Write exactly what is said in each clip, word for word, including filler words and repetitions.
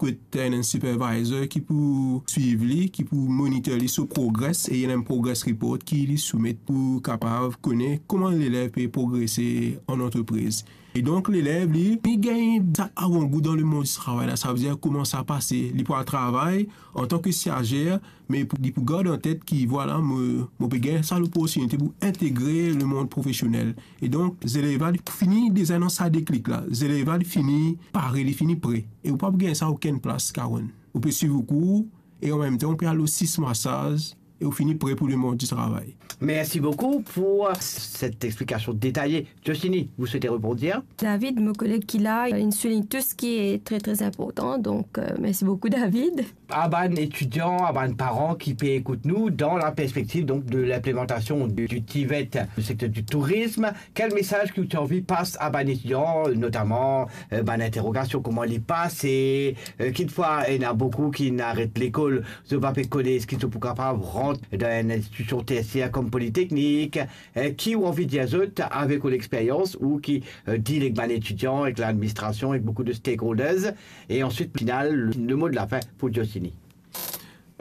kot ena enn supervisor ki pou swiv li, ki pou monitor li so progress, e ena enn progress report ki li soumet pou kapav kone kouma lelev pe progrese an antrepriz. E donk, lelev, li, li gagn sa avangou dan lemond di travay la, savedir kouma sa pase. Li pou al travay antan ki stazier, me pou, li pou gard an tet ki, vwala, mo, mo pe gagn sa loportinite pou integre lemond profesionel. E donk, zelev la, li fini deza dan sa deklik la. Zelev la, li fini pare, li fini pre. E ou pa pou gagn sa okenn plas, Karen. Ou pe swiv ou kour, e anmemtan, ou pe al lor sis mwa staz, e ou fini pre pou lemond di travay. Merci beaucoup pour cette explication détaillée. Jocelyne, vous souhaitez rebondir ? David, mon collègue qui l'a, il souligne tout ce qui est très, très important. Donc, euh, merci beaucoup, David. A bann etidian, a bann paran ki pe ekout nou, dans la perspective donc de l'implémentation du, du TVET, le secteur du tourisme, quel message que tu as envie passer à bann etidian, notamment, euh, bann interogasion, kouma li pase, euh, kitfwa, ena boukou ki finn aret lekol, zot pa pe kone eski zot pou kapav rant dan enn institision tersier kom politeknik, eh, ki ou anvi dir zot avek ou lexperyans ou ki, eh, deal ek bann etidian, ek ladministrasion, ek boukou de stakeholders, e answit, final, le, le mo de la fin pou Jocelyne.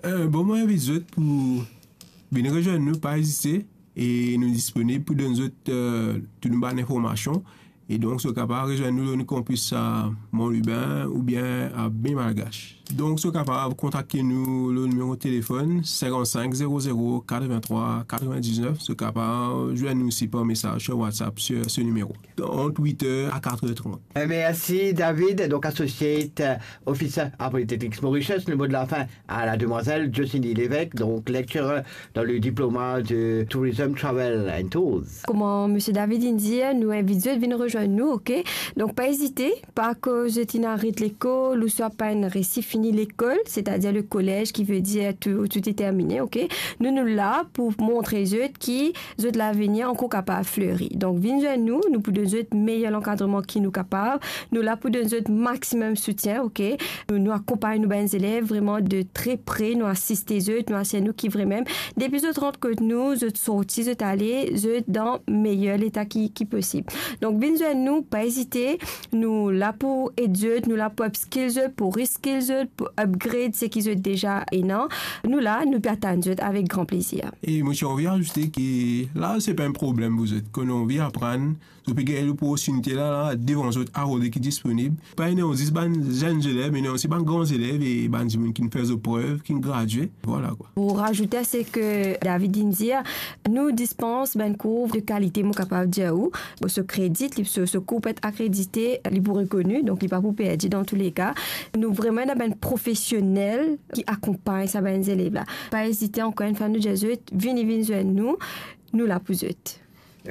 Eh, bon, mo invit zot pou vinn rezwenn nou, pa ezite, e nou disponib pou donn zot, eh, tou nou bann informasion. E donk, zot kapav rezwenn nou lor nou kanpis a Mont Lubin oubien a Baie Malgache. Donk, zot kapav kontakte nou lor nimero telefonn sinkant-sink zero zero katrevintrwa katrevindiznef. Zot kapav zwenn nou osi par mesaz lor WhatsApp lor se nimero, ant wit er a kat er trant. Eh, merci, David, donc associate, euh, officer à Polytechnics Mauritius. Le mot de la fin à la demoiselle Jocelyne Lévesque, donc lecturer dans le diplôme de Tourism, Travel and Tours. Kouma Monsieur David inn dir, nou invit zot vinn rezwenn nou, ok? Donk, pa ezite, pa ke zot inn aret lekol, ouswa pa inn resi fini lekol, setadir le kolez, ki ve dir tou, tou est terminé, ok? Nou, nou la pou montre zot ki zot lavenir ankor kapav fleri. Donk, vinn zwenn nou, nou pou donn zot meyer lankadreman ki nou kapav. Nou la pou donn zot maximum soutien, ok? Nou, nou akonpagn nou bann zelev vreman de tre pre, nou asiste zot, nou asir nou ki vremem, depi zot rant kot nou, zot sorti, zot ale, zot dan meyer leta ki, ki posib. Donk, vinn zwenn nou, pa ezite, nou la pou ed zot, nou la pou upskill zot, pou reskill zot, pou upgrade seki zot deza ena. Nou la, nou pe atann zot avek gran plezir. E mo ti anvi azoute ki la, se pa enn problem pou zot. Kan nou anvi aprann, zot pe gagn loportinite la, la, devan zot, arodri ki disponib. Pa ena zis bann zenn zelev, me ena osi bann gran zelev e bann dimoun ki finn fer zot prev, ki gradie. Vwala, kwa. Pou razoute a seki David inn dir, nou dispans bann kour de kalite, mo kapav dir ou. So kredit, li, so, so kour pou et akredite, li pou rekoni, donk li pa pou perdi dan touleka. Nou vreman ena bann profesionel ki akonpagn sa bann zelev la. Pa ezite, ankor enn fwa, nou dir zot, vini, vinn zwenn nou, nou la pou zot.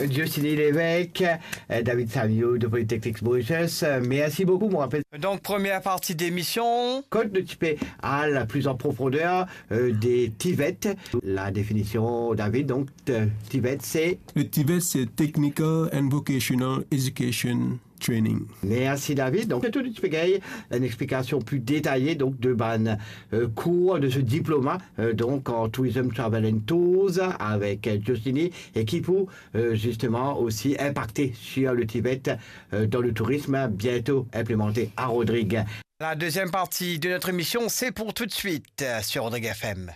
Jocelyne Lévesque, euh, David Savio de Polytechnics Mauritius, euh, merci beaucoup, mon rappel. Donc, première partie d'émission. Kot nou ti pe al plus en profondeur, euh, de TVET, la définition, David, donc, euh, TVET, c'est ? Le TVET, c'est Technical and Vocational Education Training. Merci, David. Donc, nou ti pe gagn enn explikasion pli detaye, donc, de bann, euh, kour de ce diplôme, euh, donc, en Tourism, Travel and Tours avec, euh, Jocelyne, et qui pou euh, justement aussi impacter sur le TVET, euh, dans le tourisme, bientôt implémenté à Rodrigues. La deuxième partie de notre émission, c'est pour tout de suite, euh, sur Rodrigues F M.